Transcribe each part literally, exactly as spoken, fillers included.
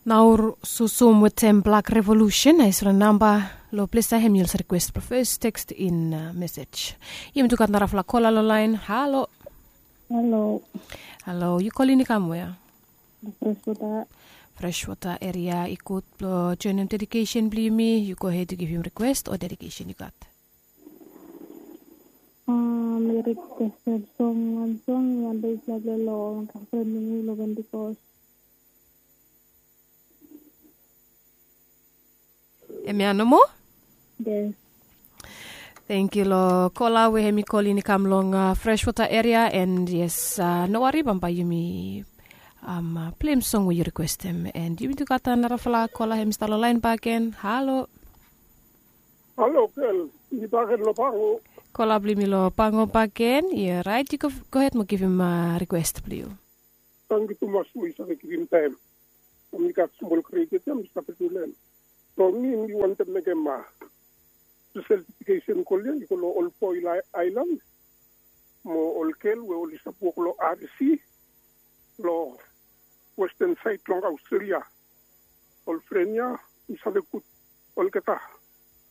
Naur susum wetem blak revolusen na isra namba. Lo ples ya hem yu olsa rikwest blong fes tekst in mesej. Yumi tu gat narafala kola lo lain. Halo. Halo. Halo, yu kolin i kam wea? Freshwater. Freshwater eria i gud blong joinim dedikesen blong yumi. Yu gohed yu givim rikwest o dedikesen yu gat? Mi rikwestem song wan song wan dei blong long gafren blong mi long Pentikos. Hemia nomo. Yes. Thank yu long kola we hem i kolin i kam long Freshwater eria and yes, no wari bambae yumi pleim song we yu rikwestem and yumi tu gat narafala kola hem i stap long lain bakegen. Halo. Halo gel, mi bakegen long Pango. Kola blong yumi long Pango bakegen. Yu orait, yu gohed mo givim rikwest blong yu. Tangkiu tumas we yu save givim taem. Mi gat smol kredit ya mi save tu lem. So mi mi wantem mekem spesel dedikesen kol ya i go long ol boe long aelan mo ol gel we oli stap wok long R E C long westen saed long Aostrelia. Ol fren ya mi save gud olgeta.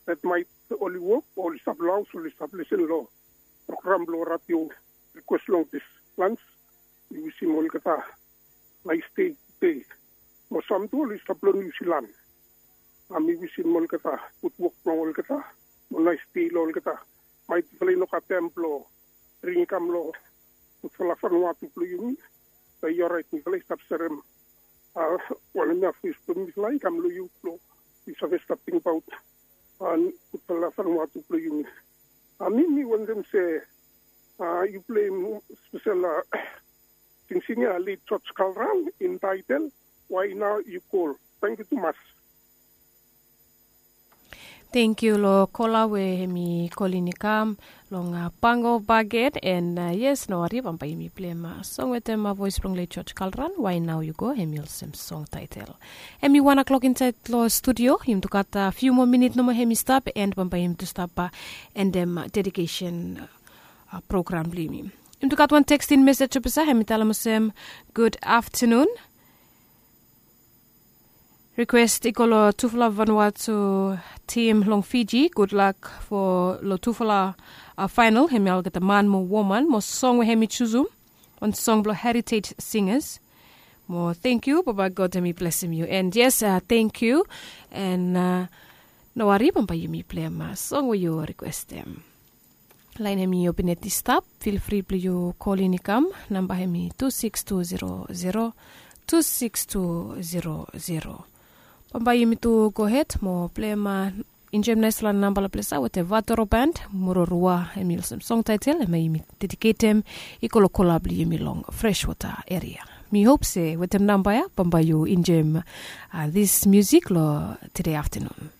Detmaet oli wok o oli stap long haos oli stap lesen long program blong radio. Rikwes long dis lans. Mi wisim olgeta naes dei. Mo sam tu oli stap long Niu Silan. Mi wisim olgeta gud wok blong olgeta mo naes dei long olgeta. Maet yufala i no gat taem blong bring i kam long gudfala Vanuatu blong yumi. Be i orait mifala i stap serem wanem ya fes blong mifala i kam long yu blong yu save stap tingbaot gudfala Vanuatu blong yumi. Mi mi wantem se yu pleim spesel singsing ya leit George Kalran in taetel Why Now You Call. Tangkiu tumas. Tangkiu long kola we hem i kolin i kam long Pango bakegen and yes, no wari bambae yumi pleim song wetem voes blong leit George Kalran Why Now You Go. Hem i olsem song taetel. Hem i wan klok insaed long studio. Yumi tu gat fiu moa minit nomo hem i stap and bambae yumi tu stap endem dedikesen program blong yumi. Yumi tu gat wan tekstin mesej olsem ya hem i talem olsem, gud aftenun. Rikwes i go long tufala Vanuatu tim long Fiji. Gudlak long tufala faenol hem ya olgeta man mo woman mo song we hem i jusum wan song blong Heritage Singers. Mo tangkiu bambae God hem i blesim yu and yes, tangkiu. And no wari bambae yumi pleim song we yu rikwestem. Laen hem i open yet i stap. Filfri blong yu kolin i kam. Namba hem i tu siks tu zero zero tu siks tu zero zero. Bambae yumi tu gohed mo pleim enjoem naesfala namba long ples ya wetem Vatoro Band, Murorua. Hem i olsem song taetel hem yumi dediketem i go long kola blong yumi long Freshwater eria. Mi hop se wetem namba ya bambae yu enjoem dis musik long tede aftenun.